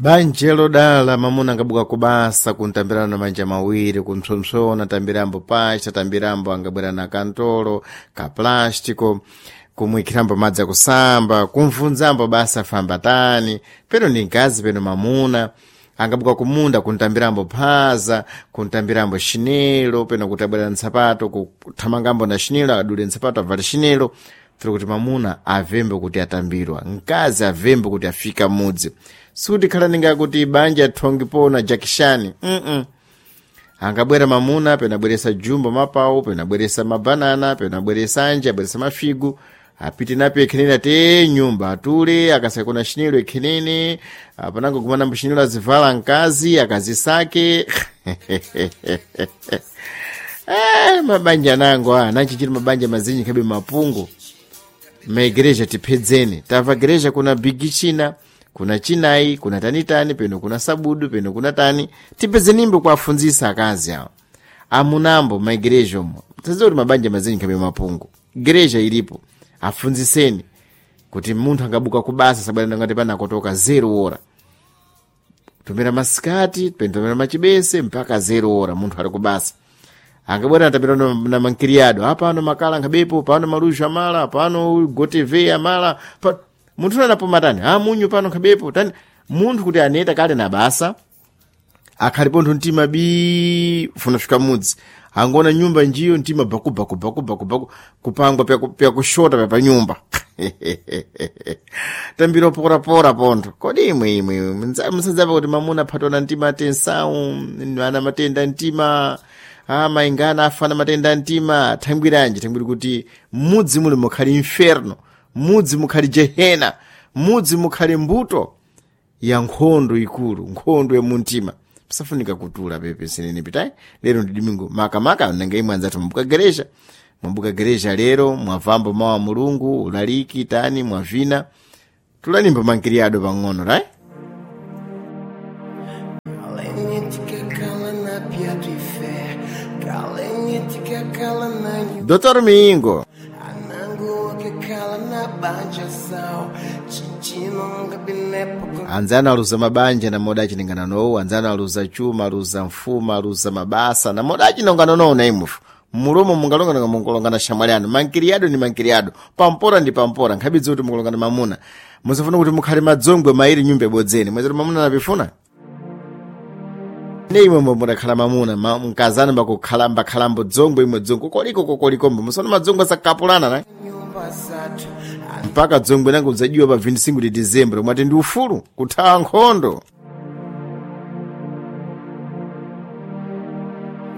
Banja lodala mamuna angabuka kubasa kuntambirana na manja mawiri, kumpsompsona tambirambo pacha, tambirambo angabwera na kantolo ka plástico, kumwikirambo madzi akusamba, kumvunzambo basa famba tani, peno ndi mkazi peno mamuna angabuka kumunda kuntambirambo phaza, kuntambirambo chinelo, peno kuti abwera na nsapato, kuthamangambo na chinelo, adule nsapato avale chinelo, tiri kuti mamuna avembe kuti atambirwa, mkazi avembe kuti afika mudzi. Sikuti khala ninga kuti banja thongi pona jakishani. Angabwera mamuna pena abweresa jumbo mapawu, pena abweresa mabanana, pena abweresa anje, abweresa mafigu, apite napo ekhenene ate nyumba atule, akasakona chinelo ekhenene, apanango kumanambo chinelo azivala mkazi akazisake. Mabanja nango nachichiri mabanja mazinji khabe mapungu. Maigereja tiphedzeni, tamva gereja kuna bigi china, kuna chinayi, kuna tanitani, peno kuna sabudu, peno kuna tani. Tipedzenimbo kuafunzisa akazi awo amunambo maigereja omo. Tadziwa kuti mabanja mazinji khabe mapungu, gereja ilipo, afunziseni kuti munthu angabuka kubasa sabwera ngati panakotoka 0 ora tumira masikati peno tumira machibese mpaka 0 ora munthu ali kubasa. Angabwera atapita na mankiriyado, apano makala nkhabepo, pano maluxo amala, pano gotv amala pa, munthu anapo matani munyu pano nkhabepo tani. Munthu kuti aneta kale na basa akhalipo nthu mtima bii funa fika mudzi angona nyumba njiyo mtima baku baku baku baku baku kupangwa pya kushota pya pa nyumba. Tambiro porapora pontho. Kodi imwe imwe msadzapa kuti mamuna aphatwa na mtima tensau, ana matenda mtima, maingana afana matenda mtima, thangwiranji thangwiri kuti mudzi muli mukhali inferno, mudzi mukhali jehena, mudzi mukhali mbuto ya nkhondo ikulu, nkhondo ya muntima. Pisafunika kutula pepe sinene pitayi. Lero ndi domingo makamaka nanga imwe anzathu mwambuka gereja, mwambuka gereja lero mwavambo mawa mulungu ulaliki tani mwavina tulanimbo mankiriyado pang'ono right? Dr. Mingo anzano aluza mabanja namoda achinengana nowu, anzano aluza chuma, aluza mfuma, aluza mabasa namoda achinongana nowu na imufu mulomo mungalongana munkulongana shamwali anu mankiriyado ni mankiriyado, pampora ndi pampora, nkhabidzi kuti mukulongana mamuna musafuna kuti mukhale madzongwe mairi nyumba ibodzeni mwezero mamuna napifuna ne imwe mudakhala mamuna mkazana mbakukhala mbakhalambo dzongwe imwe dzongwe kokoliko kokolikombo musona madzongwe asakapulana na mpaka dzongwe nango udzajiwa pa 25 de dezembro mwati ndi ufulu kuthawa nkhondo.